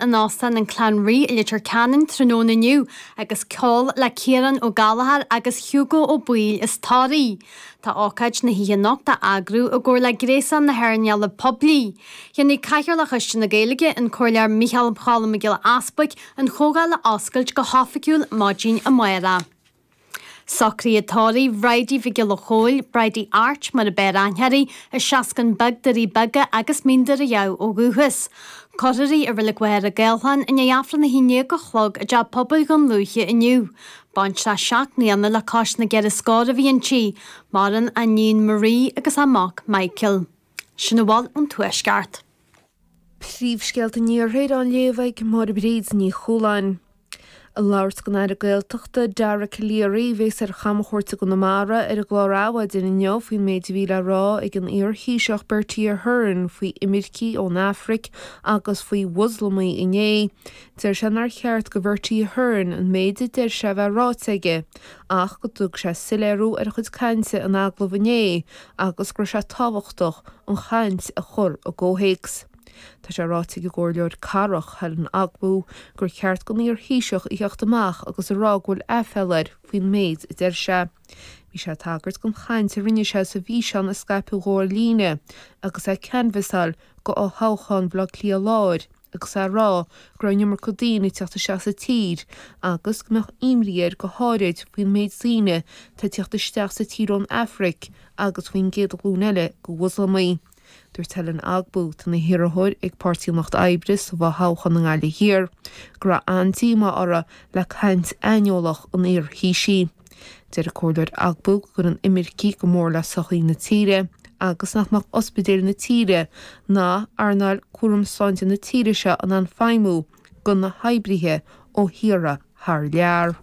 In Óstán an Clanree i Leitir Ceanainn tráthnóna inniu agus ceol le Ciarán Ó Gallchóir agus Hugo Ó Baoill as Toraigh. Tá ócáid na hoíche anocht á eagrú i gcomhar le Gréasán na hEarnála Poiblí. Déanfaidh Cathaoirleach Choiste na Gaeilge, an Comhairleoir Micheál Cholm Mac Giolla Easbuig, an chomhdháil a oscailt go hoifigiúil maidin amárach. Socruithe tórraimh Bhridie Mhic Giolla Chóill, Bridie Art mar a b'fhearr aithne uirthi, as Seascann Beag, Doirí Beaga agus Mín Doire Dhamh ó dhúchas. Cuirfear í i Reilig Mhachaire Gathlán i ndiaidh Aifreann 11 a chlog i dTeach Pobail Dhún Lúiche inniu. Baintreach 7 mbliana le cois na gceithre scór a bhí inti. Maireann a iníon Marie agus a mac Michael. Sin a bhfuil ón Tuaisceart. Príomhscéalta an Iarthair á léamh ag Máire Bríd Ní Chualáin. Ag labhairt don Aire Gaeltachta, Dara Calleary, a bhéas ar chamchuairt i gConamara ar an gclár Adhmhaidin inniu faoin méid a bhí le rá ag an iar-Thaoiseach Bertie Ahern faoi imircigh ón Afraic agus faoi Mhoslamaigh inné. Deir sé nár cheart do Bhertie Ahern an méid a deir sé a bheith ráite aige ach go dtug sé soiléiriú ar a chuid cainte in agallamh inné agus go raibh sé tábhachtach an chaint a chur i gcomhthéacs. Tá sé ráite ag an gComhairleoir Cathrach, Helen Ogbu, gur cheart don iar-Thaoiseach a theacht amach agus a rá go bhfuil aiféala air faoin méid a deir sé. Bhí sé ag tagairt don chaint a rinne sé sa bhfíseán a scaipeadh dhó ar líne agus é ag canbhasáil do fhothoghchán Bhaile Átha Cliath Láir agus é ag rá go raibh an iomarca daoine ag teacht isteach sa tír agus go mbeadh imní air go háirid faoin méid daoine atá ag teacht isteach sa tír ón Afraic agus faoin gcéad ghlúin eile de Mhoslamaigh. Dúirt Helen Ogbu, atá ina hiarrthóir ag Páirtí an Lucht Oibre sa bhfothoghchán i nGaillimh Thiar, go raibh an-díomá uirthi le caint aineolach an iar-Thaoisigh. Deir an Comhairleoir Ogbu go gcuireann imircigh go mór le sochaí na tíre agus nach mbeadh ospidéil na tíre ná earnáil cúram sláinte na tíre seo in ann feidhmiú gan na hoibrithe ó thíortha thar lear.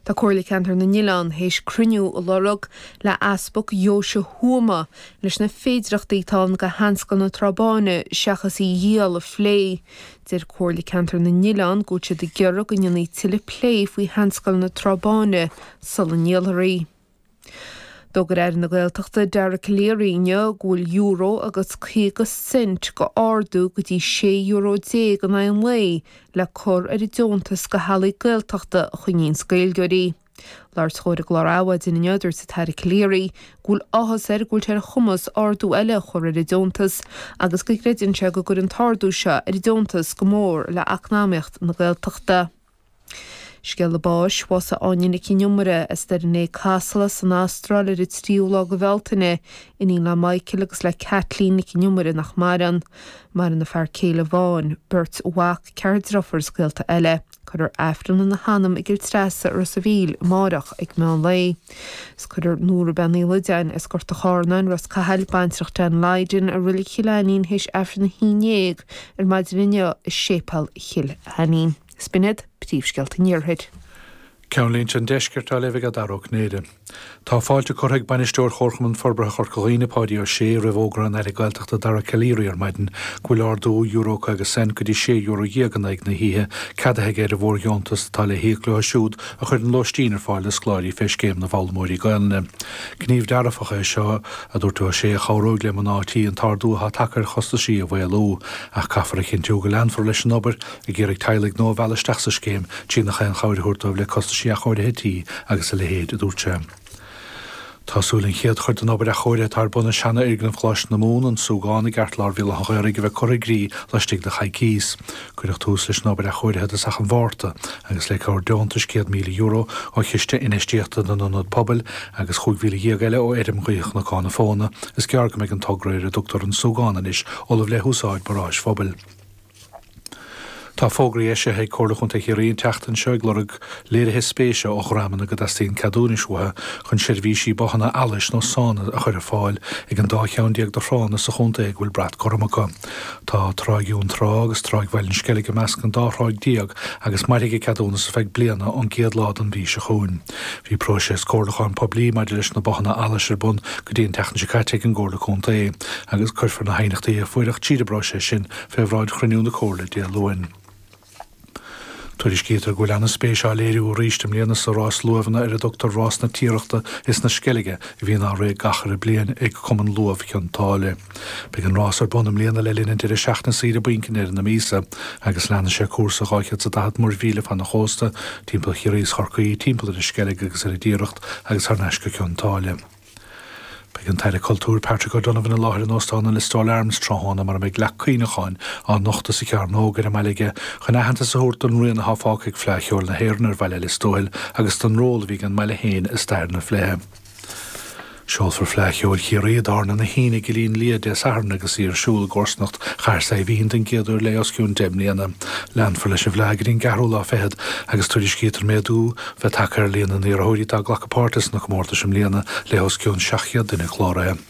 Tá Comhairle Ceantar na nOileán théis cruinniú a lorg le Easpag Dheoise Thuama leis na féidireachtaí atá ann do Sheanscoil na Trá Báine seachas í a dhíol a phlé. Deir Comhairle Ceantar na nOileán go bhfuil siad ag iarraidh go ndéanfaí tuilleadh plé faoi Sheanscoil na Trá Báine sula ndíolfar í. D'fhógair Aire na Gaeltachta Dara Calleary inniu go bhfuil euro agus 50 cent go ardú go dtí €16 euro in aghaidh an lae le cur ar an deontas go theaghlaigh Gaeltachta a choinníonns Gaeilgeoirí. Labhairt dhó ar an gclár Adhmhaidin inniu, dúirt an tAire Calleary go bhfuil áthas air go bhfuil sé ar a chumas ardú eile a chur ar an deontas agus go gcreideann sé go gcuireann an t-ardú seo ar an deontas go mór le eacnamaíocht na Gaeltachta. Scéala báis, Bhásaigh Áine Nic Con Iomaire as Doire an Casla san Astráil ar an tríú lá de Bhealtaine, iníon le Michael agus le Kathleen Nic Con Iomaire nach maireann. Maireann a fear céile Vaughan, beirt mhac, ceathrar deirfiúr is gaolta eile. Cuirfear Aifreann ina hanam i gCill Treasa i Ros a' Mhíl amáireach ag meán lae. Is cuirfear Nóra Bean Uí Loideáin as Gort a' Chárnáin, Ros Cathail, baintreach Dan Lydon, i Reilig Chill Ainnín théis Aifreann a 11 ar maidin inniu i Séipéal Chill Ainnín. Is b'in iad príomhscéalta an Iarthair. Ceannlínte an Deiscirt á léamh ag Dara Ó Cinnéide. Tá fáilte curtha ag Bainisteoir Chomharchumann Forbartha Chorca Dhuibhne, Páidí Ó Sé, roimh fhógra an Aire Gaeltachta Dara Calleary ar maidin go bhfuil ardú euro 50 cent go dtí €16 euro in aghaidh na hoíche ceadaithe aige ar an bhfóirdheontas atá le híoc leo siúd a chuireann lóistín ar fáil do scoláirí fé Scéim na bhFoghlaimeoirí Gaelainne. Gníomh dearfach é seo, a dúirt Ó Sé, a chabhróidh le mná tí an t-ardú atá tagtha ar chostaisí a mhaolú. Ach caithfear a chinntiú go leanfar leis an obair ag iarraidh teaghlaigh nua a mhealladh isteach sa scéim trí nach aon chabhair a thabhairt dóibh le costaisí athchóirithe tí agus a leithéid, a dúirt sé. Tá súil an chéad chuid den obair athchóirithe atá ar bun i seanfhoirgneamh Choláiste na Mumhan, An Súgán, i gceartlár Bhéal Átha an Ghaorthaidh a bheith curtha i gcrích laistigh de choicíos. Cuireadh tús leis an obair athchóirithe i dtosach an Mhárta agus le cabhair deontais €100,000 ó Chiste Infheistíochta na nIonad Pobail agus 15,000 eile ó Fheirm Ghaoithe Chnocán na Fóna, is gearr go mbeidh an togra ar a dtugtar An Súgán anois ullamh le húsáid mar áis phobail. Tá fógraí eisithe ag Comhairle Chontae Chiarraí an tseachtain seo ag lorg léirithe spéise ó dhreamanna go dteastaíonn ceadúnais uathu chun seirbhísí bothanna allais nó sána a chur ar fáil ag an dá cheann déag de thránna sa chontae go bhfuil brat gorm acu. Tá Tráigh Dhún Trá agus Tráigh Bhaile an Sceilg i measc an dá thráigh déag agus mairfidh a gceadúnas ar feadh bliana ón gcéad lá den mhí seo chugainn. Bhí próiseas comhairliúcháin poiblí maidir leis na bothanna allais ar bun go dtí an tseachtain seo caite ag an gComhairle Contae agus cuirfear na haighneachtaí a fuaireadh tríd an bpróiseas sin fé bhráid chruinniú na Comhairle Dé Luain. Tuairiscítear go bhfuil an-spéis á léiriú arís i mbliana sa rás luamhanna ar a dtugtar Rás na Tiarachta is na Sceilge a bhíonn á rith gach uile bliain ag Cumann Luamh Chionn tSáile. Beidh an rás ar bun i mbliana le linn an deireadh seachtaine saoire bainc i ndeireadh na míosa agus leanfaidh sé cúrsa 240 muirmhíle fan an chósta, timpeall Chiarraí is Chorcaí, timpeall ar an Sceilg agus ar an dTiaracht agus thar n-ais go Cionn tSáile. Beidh an tAire Cultúir Patrick O'Donovan i láthair in Óstán an Listowel Arms tráthnóna mar a mbeidh leac cuimhneacháin á nochtadh sa Chearnóg ar an mbaile aige chun aitheantas a thabhairt don rian atá fágtha ag Fleadh Cheoil na hÉireann ar bhaile Lios Tuathail agus don ról a bhí ag an mbaile féin i stair na fleidhe. Seolfar Fleadh Cheoil Chiarraí i dTábhairne na hAoine i gCillín Liath Dé Sathairn agus í ar siúl i gcomharsanacht Chathair Saidhbhín den gcéad uair le os cionn 10 mbliana. Leanfar leis an bhFleadh go dtí an gceathrú lá fichead agus tuairiscítear méadú bheith tagtha ar líon na n-iarrthóirí atá ag glacadh páirte sna comórtais i mbliana le os cionn 700 duine cláraithe.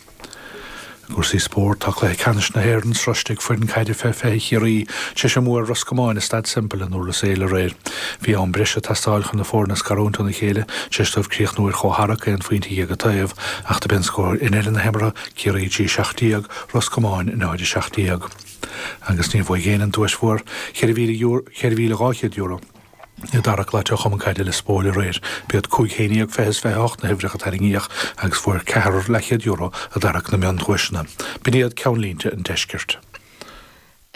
I gcúrsaí spóirt, tá cluiche ceannais na hÉireann sroiste ag foireann caide fé 20 Chiarraí tar éis a mbua ar Ros Comáin i Staid Semple in Durlas Éile aréir. Bhí am breise ag teastáil chun na foirne a scarúint óna chéile tar éis dóibh críochnú ar chomhtharrac, aon phointe dhéag an taobh, ach dob é an scór i ndeireadh na himeartha, Ciarraí 3 17, Ros Comáin 0 17. Agus níor bhuaigh éinne an duais mhór, €4,200. I dtarrac laite ó Chumann Caide Lios Póil aréir. B'iad 5 11 20 is 28 na huimhreacha a tarraingíodh agus fuair ceathrar leathchéad euro i dtarrac na miondhuaiseanna. B'in iad ceannlínte an deiscirt.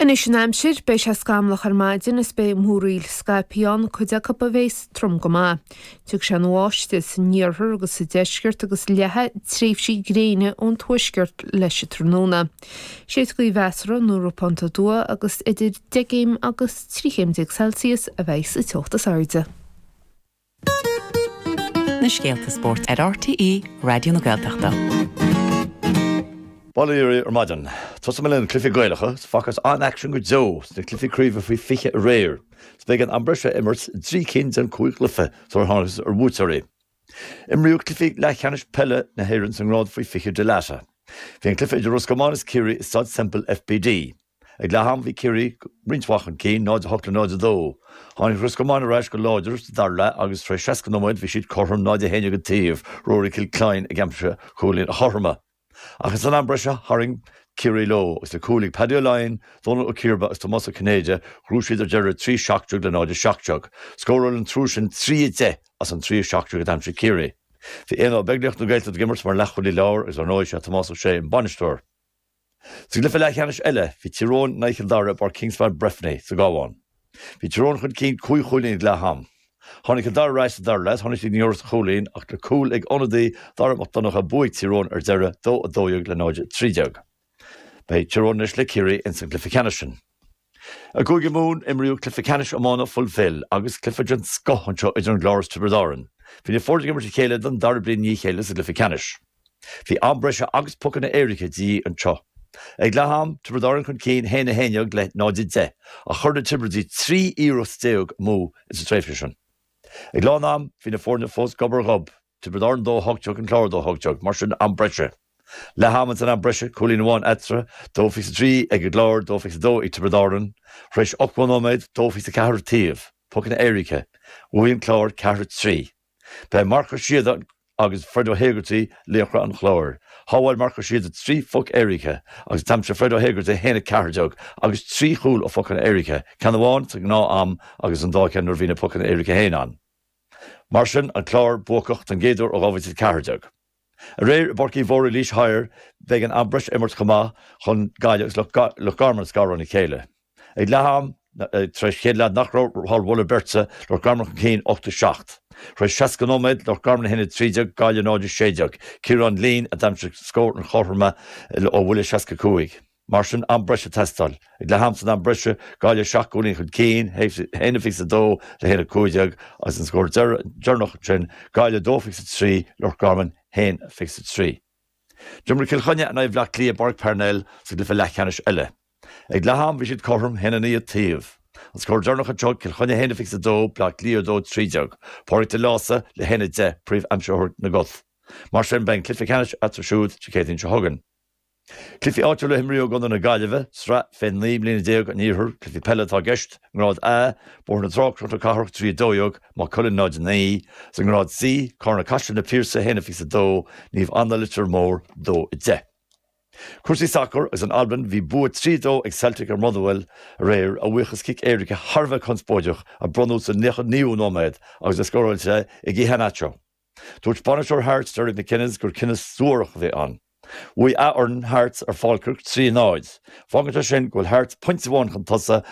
Anois an aimsir, beidh sé scamallach ar maidin is beidh múraíl scaipthe ann, cuid acu a bheas trom go maith. Tiocfaidh sé ina bháisteach san iarthar agus sa deisceart agus leathfaidh tréimhsí gréine ón tuaisceart leis an tráthnóna. Séidfidh gaoth mheasartha nó ropánta aduaidh agus idir 10 gcéim agus 13 chéim Celsius a bheidh sa teocht is airde. Na scéalta spóirt ar RTÉ Raidió na Gaeltachta. Bail ó Dhia oraibh ar maidin. Tosóidh mé le na cluichí Gaelacha. 's Facthas an-aicsean go deo sna cluichí craoibhe faoi 20 aréir. 's b'éigean am breise a imirt i dtrí cinn den chúig chluiche sular thángthas ar bhuaiteoirí. Imríodh cluichí leathcheannais peile na hÉireann sa ngrád faoi 20 Dé Luain. Bhí an cluiche idir Ros Comáin is Ciarraí i Staid Semple FBD. Ag leath am bhí Ciarraí roinnt mhaith chun cinn, 0-8 le 0-2. Tháinig Ros Comáin ar ais go láidir sa dara leath agus tar éis 60 nóiméad bhí siad cothrom, 0-11 an taobh, Rory Kilcline ag aimsiú chúilín a chothromaithe. Ach san am breise tharraing Ciarraí leo agus le cúil ag Paddy Ó Laighin, Dónal Ó Ciarba agus Tomás Ó Cinnéide ghnóthaigh siad ar deireadh 3-17 le 0-17. Scóráil an triúr sin 3-10 as an 3-17 a d'aimsigh Ciarraí. Bhí Éanna Ó Beaglaoich na Gaeltachta ag imirt mar leathchúlaí láir agus ar ndóigh sé Tomás Ó Sé an bainisteoir. Sa gcluiche leathcheannais eile, bhí Tír Eoghain in aghaidh Chill Dara i bPáirc Kingspan Breffni sa gCabhán. Bhí Tír Eoghain chun cinn cúig chúilín ag leath am. Tháinig Cill Dara ar ais sa dara leath, tháinig siad i ngiorracht chúilín ach le cúl ag ionadaí Dara Mac Donncha bhuaigh Tír Eoghain ar deireadh, 2-12 le 0-13. Beidh Tír Eoghain anois le Ciarraí ins an gcluiche ceannais sin. I gCúige Mumhan, imríodh cluiche ceannais iomána Fulfil agus cluiche den scoth anseo idir an gClár is Tiobraid Árann. Bhí na foirne ag imirt a chéile don dara bliain i ndiaidh a chéile sa gcluiche ceannais. Bhí am breise agus pocanna éirice de dhíth anseo. Ag leath am, Tiobraid Árann chun cinn 1-11 le 0-10 ach chuir na Tiobradaigh 13 iarracht amú sa tréimhse sin. Ag lán am, bhí na foirne fós gob ar ghob, Tiobraid Árann 2-18, an Clár 2-18, mar sin am breise. Leath ama san am breise, cúilín amháin eatarthu, 2-23 ag an gClár, 2-22 ag Tiobraid Árann. Tar éis 80 nóiméad, 2-24 an taobh, pocanna éirice. Bhuaigh an Clár 4-3. Ba é Marc Ó Síoda agus Fred O'Hegarty laochra an Chláir. Shábháil Marc Ó Síoda 3 phoc éirice agus d'aimsigh Fred O'Hegarty 1-14 agus 3 chúl ó phocanna éirice, ceann amháin sa ngnáth-am agus an dá cheann nuair a bhí na pocanna éirice féin ann. Mar sin, an Clár buacach don gcéad uair ó 2014. Aréir i bPáirc Uí Mhórdha i Laois Thoir b'éigean am breise a imirt chomh maith chun Gaillimh agus Loch Garman a scaradh óna chéile. Ag leath am, tar éis chéad leath nach raibh thar mholadh beirte, Loch Garman chun cinn 8 7. Tar éis 60 nóiméad, Loch Garman 1 13, Gaillimh 0 16. Ciarán Leen a d'aimsigh scór an chothromaithe ó bhuille 65. Mar sin, am breise ag teastáil. Ag leath am san am breise, Gaillimh 7 gcúilín chun cinn, 1-22 le 1-15 agus an scór deireanach ansin, Gaillimh 2-23, Loch Garman 1-23. D'imir Cill Chainnigh in aghaidh Bhaile Átha Cliath i bPáirc Parnell sa gcluiche leathcheannais eile. Ag leath am bhí siad cothrom, 1-9 an taobh. An scór deireanach anseo, Cill Chainnigh 1-22, Baile Átha Cliath 2-13. Pádraig de Lása le 1-10, príomh-aimsitheoir na gcot. Mar sin, beidh an cluiche ceannais eatarthu siúd Dé Céadaoin seo chugainn. Cluichí áitiúla a imríodh i gContae na Gaillimhe, Sraith fé 19 mbliana an Iarthair, cluichí peile atá i gceist, i nGrád A, Bóthar na Trá, Cnoc na Cathrach 3 12, Maigh Cuilinn 0 9, sa nGrád C, Carna Caiseal Na Piarsaigh 1 22, Naomh Anna Leitir Móir 2 10. Cúrsaí sacair agus in Albain bhí bua 3, 2 ag Celtic ar Motherwell aréir a bhuíochas cic éirice thar a bheith conspóideach a bronnadh sa 99ú nóiméad agus é scóráilte ag Iheanacho. Dúirt bainisteoir Hearts Derek McInnes gur cinneadh suarach a bhí ann. Bhuaigh a fhoireann Hearts ar Falkirk 3, 0. Fágann sé sin go bhfuil Hearts pointe amháin chun tosaigh.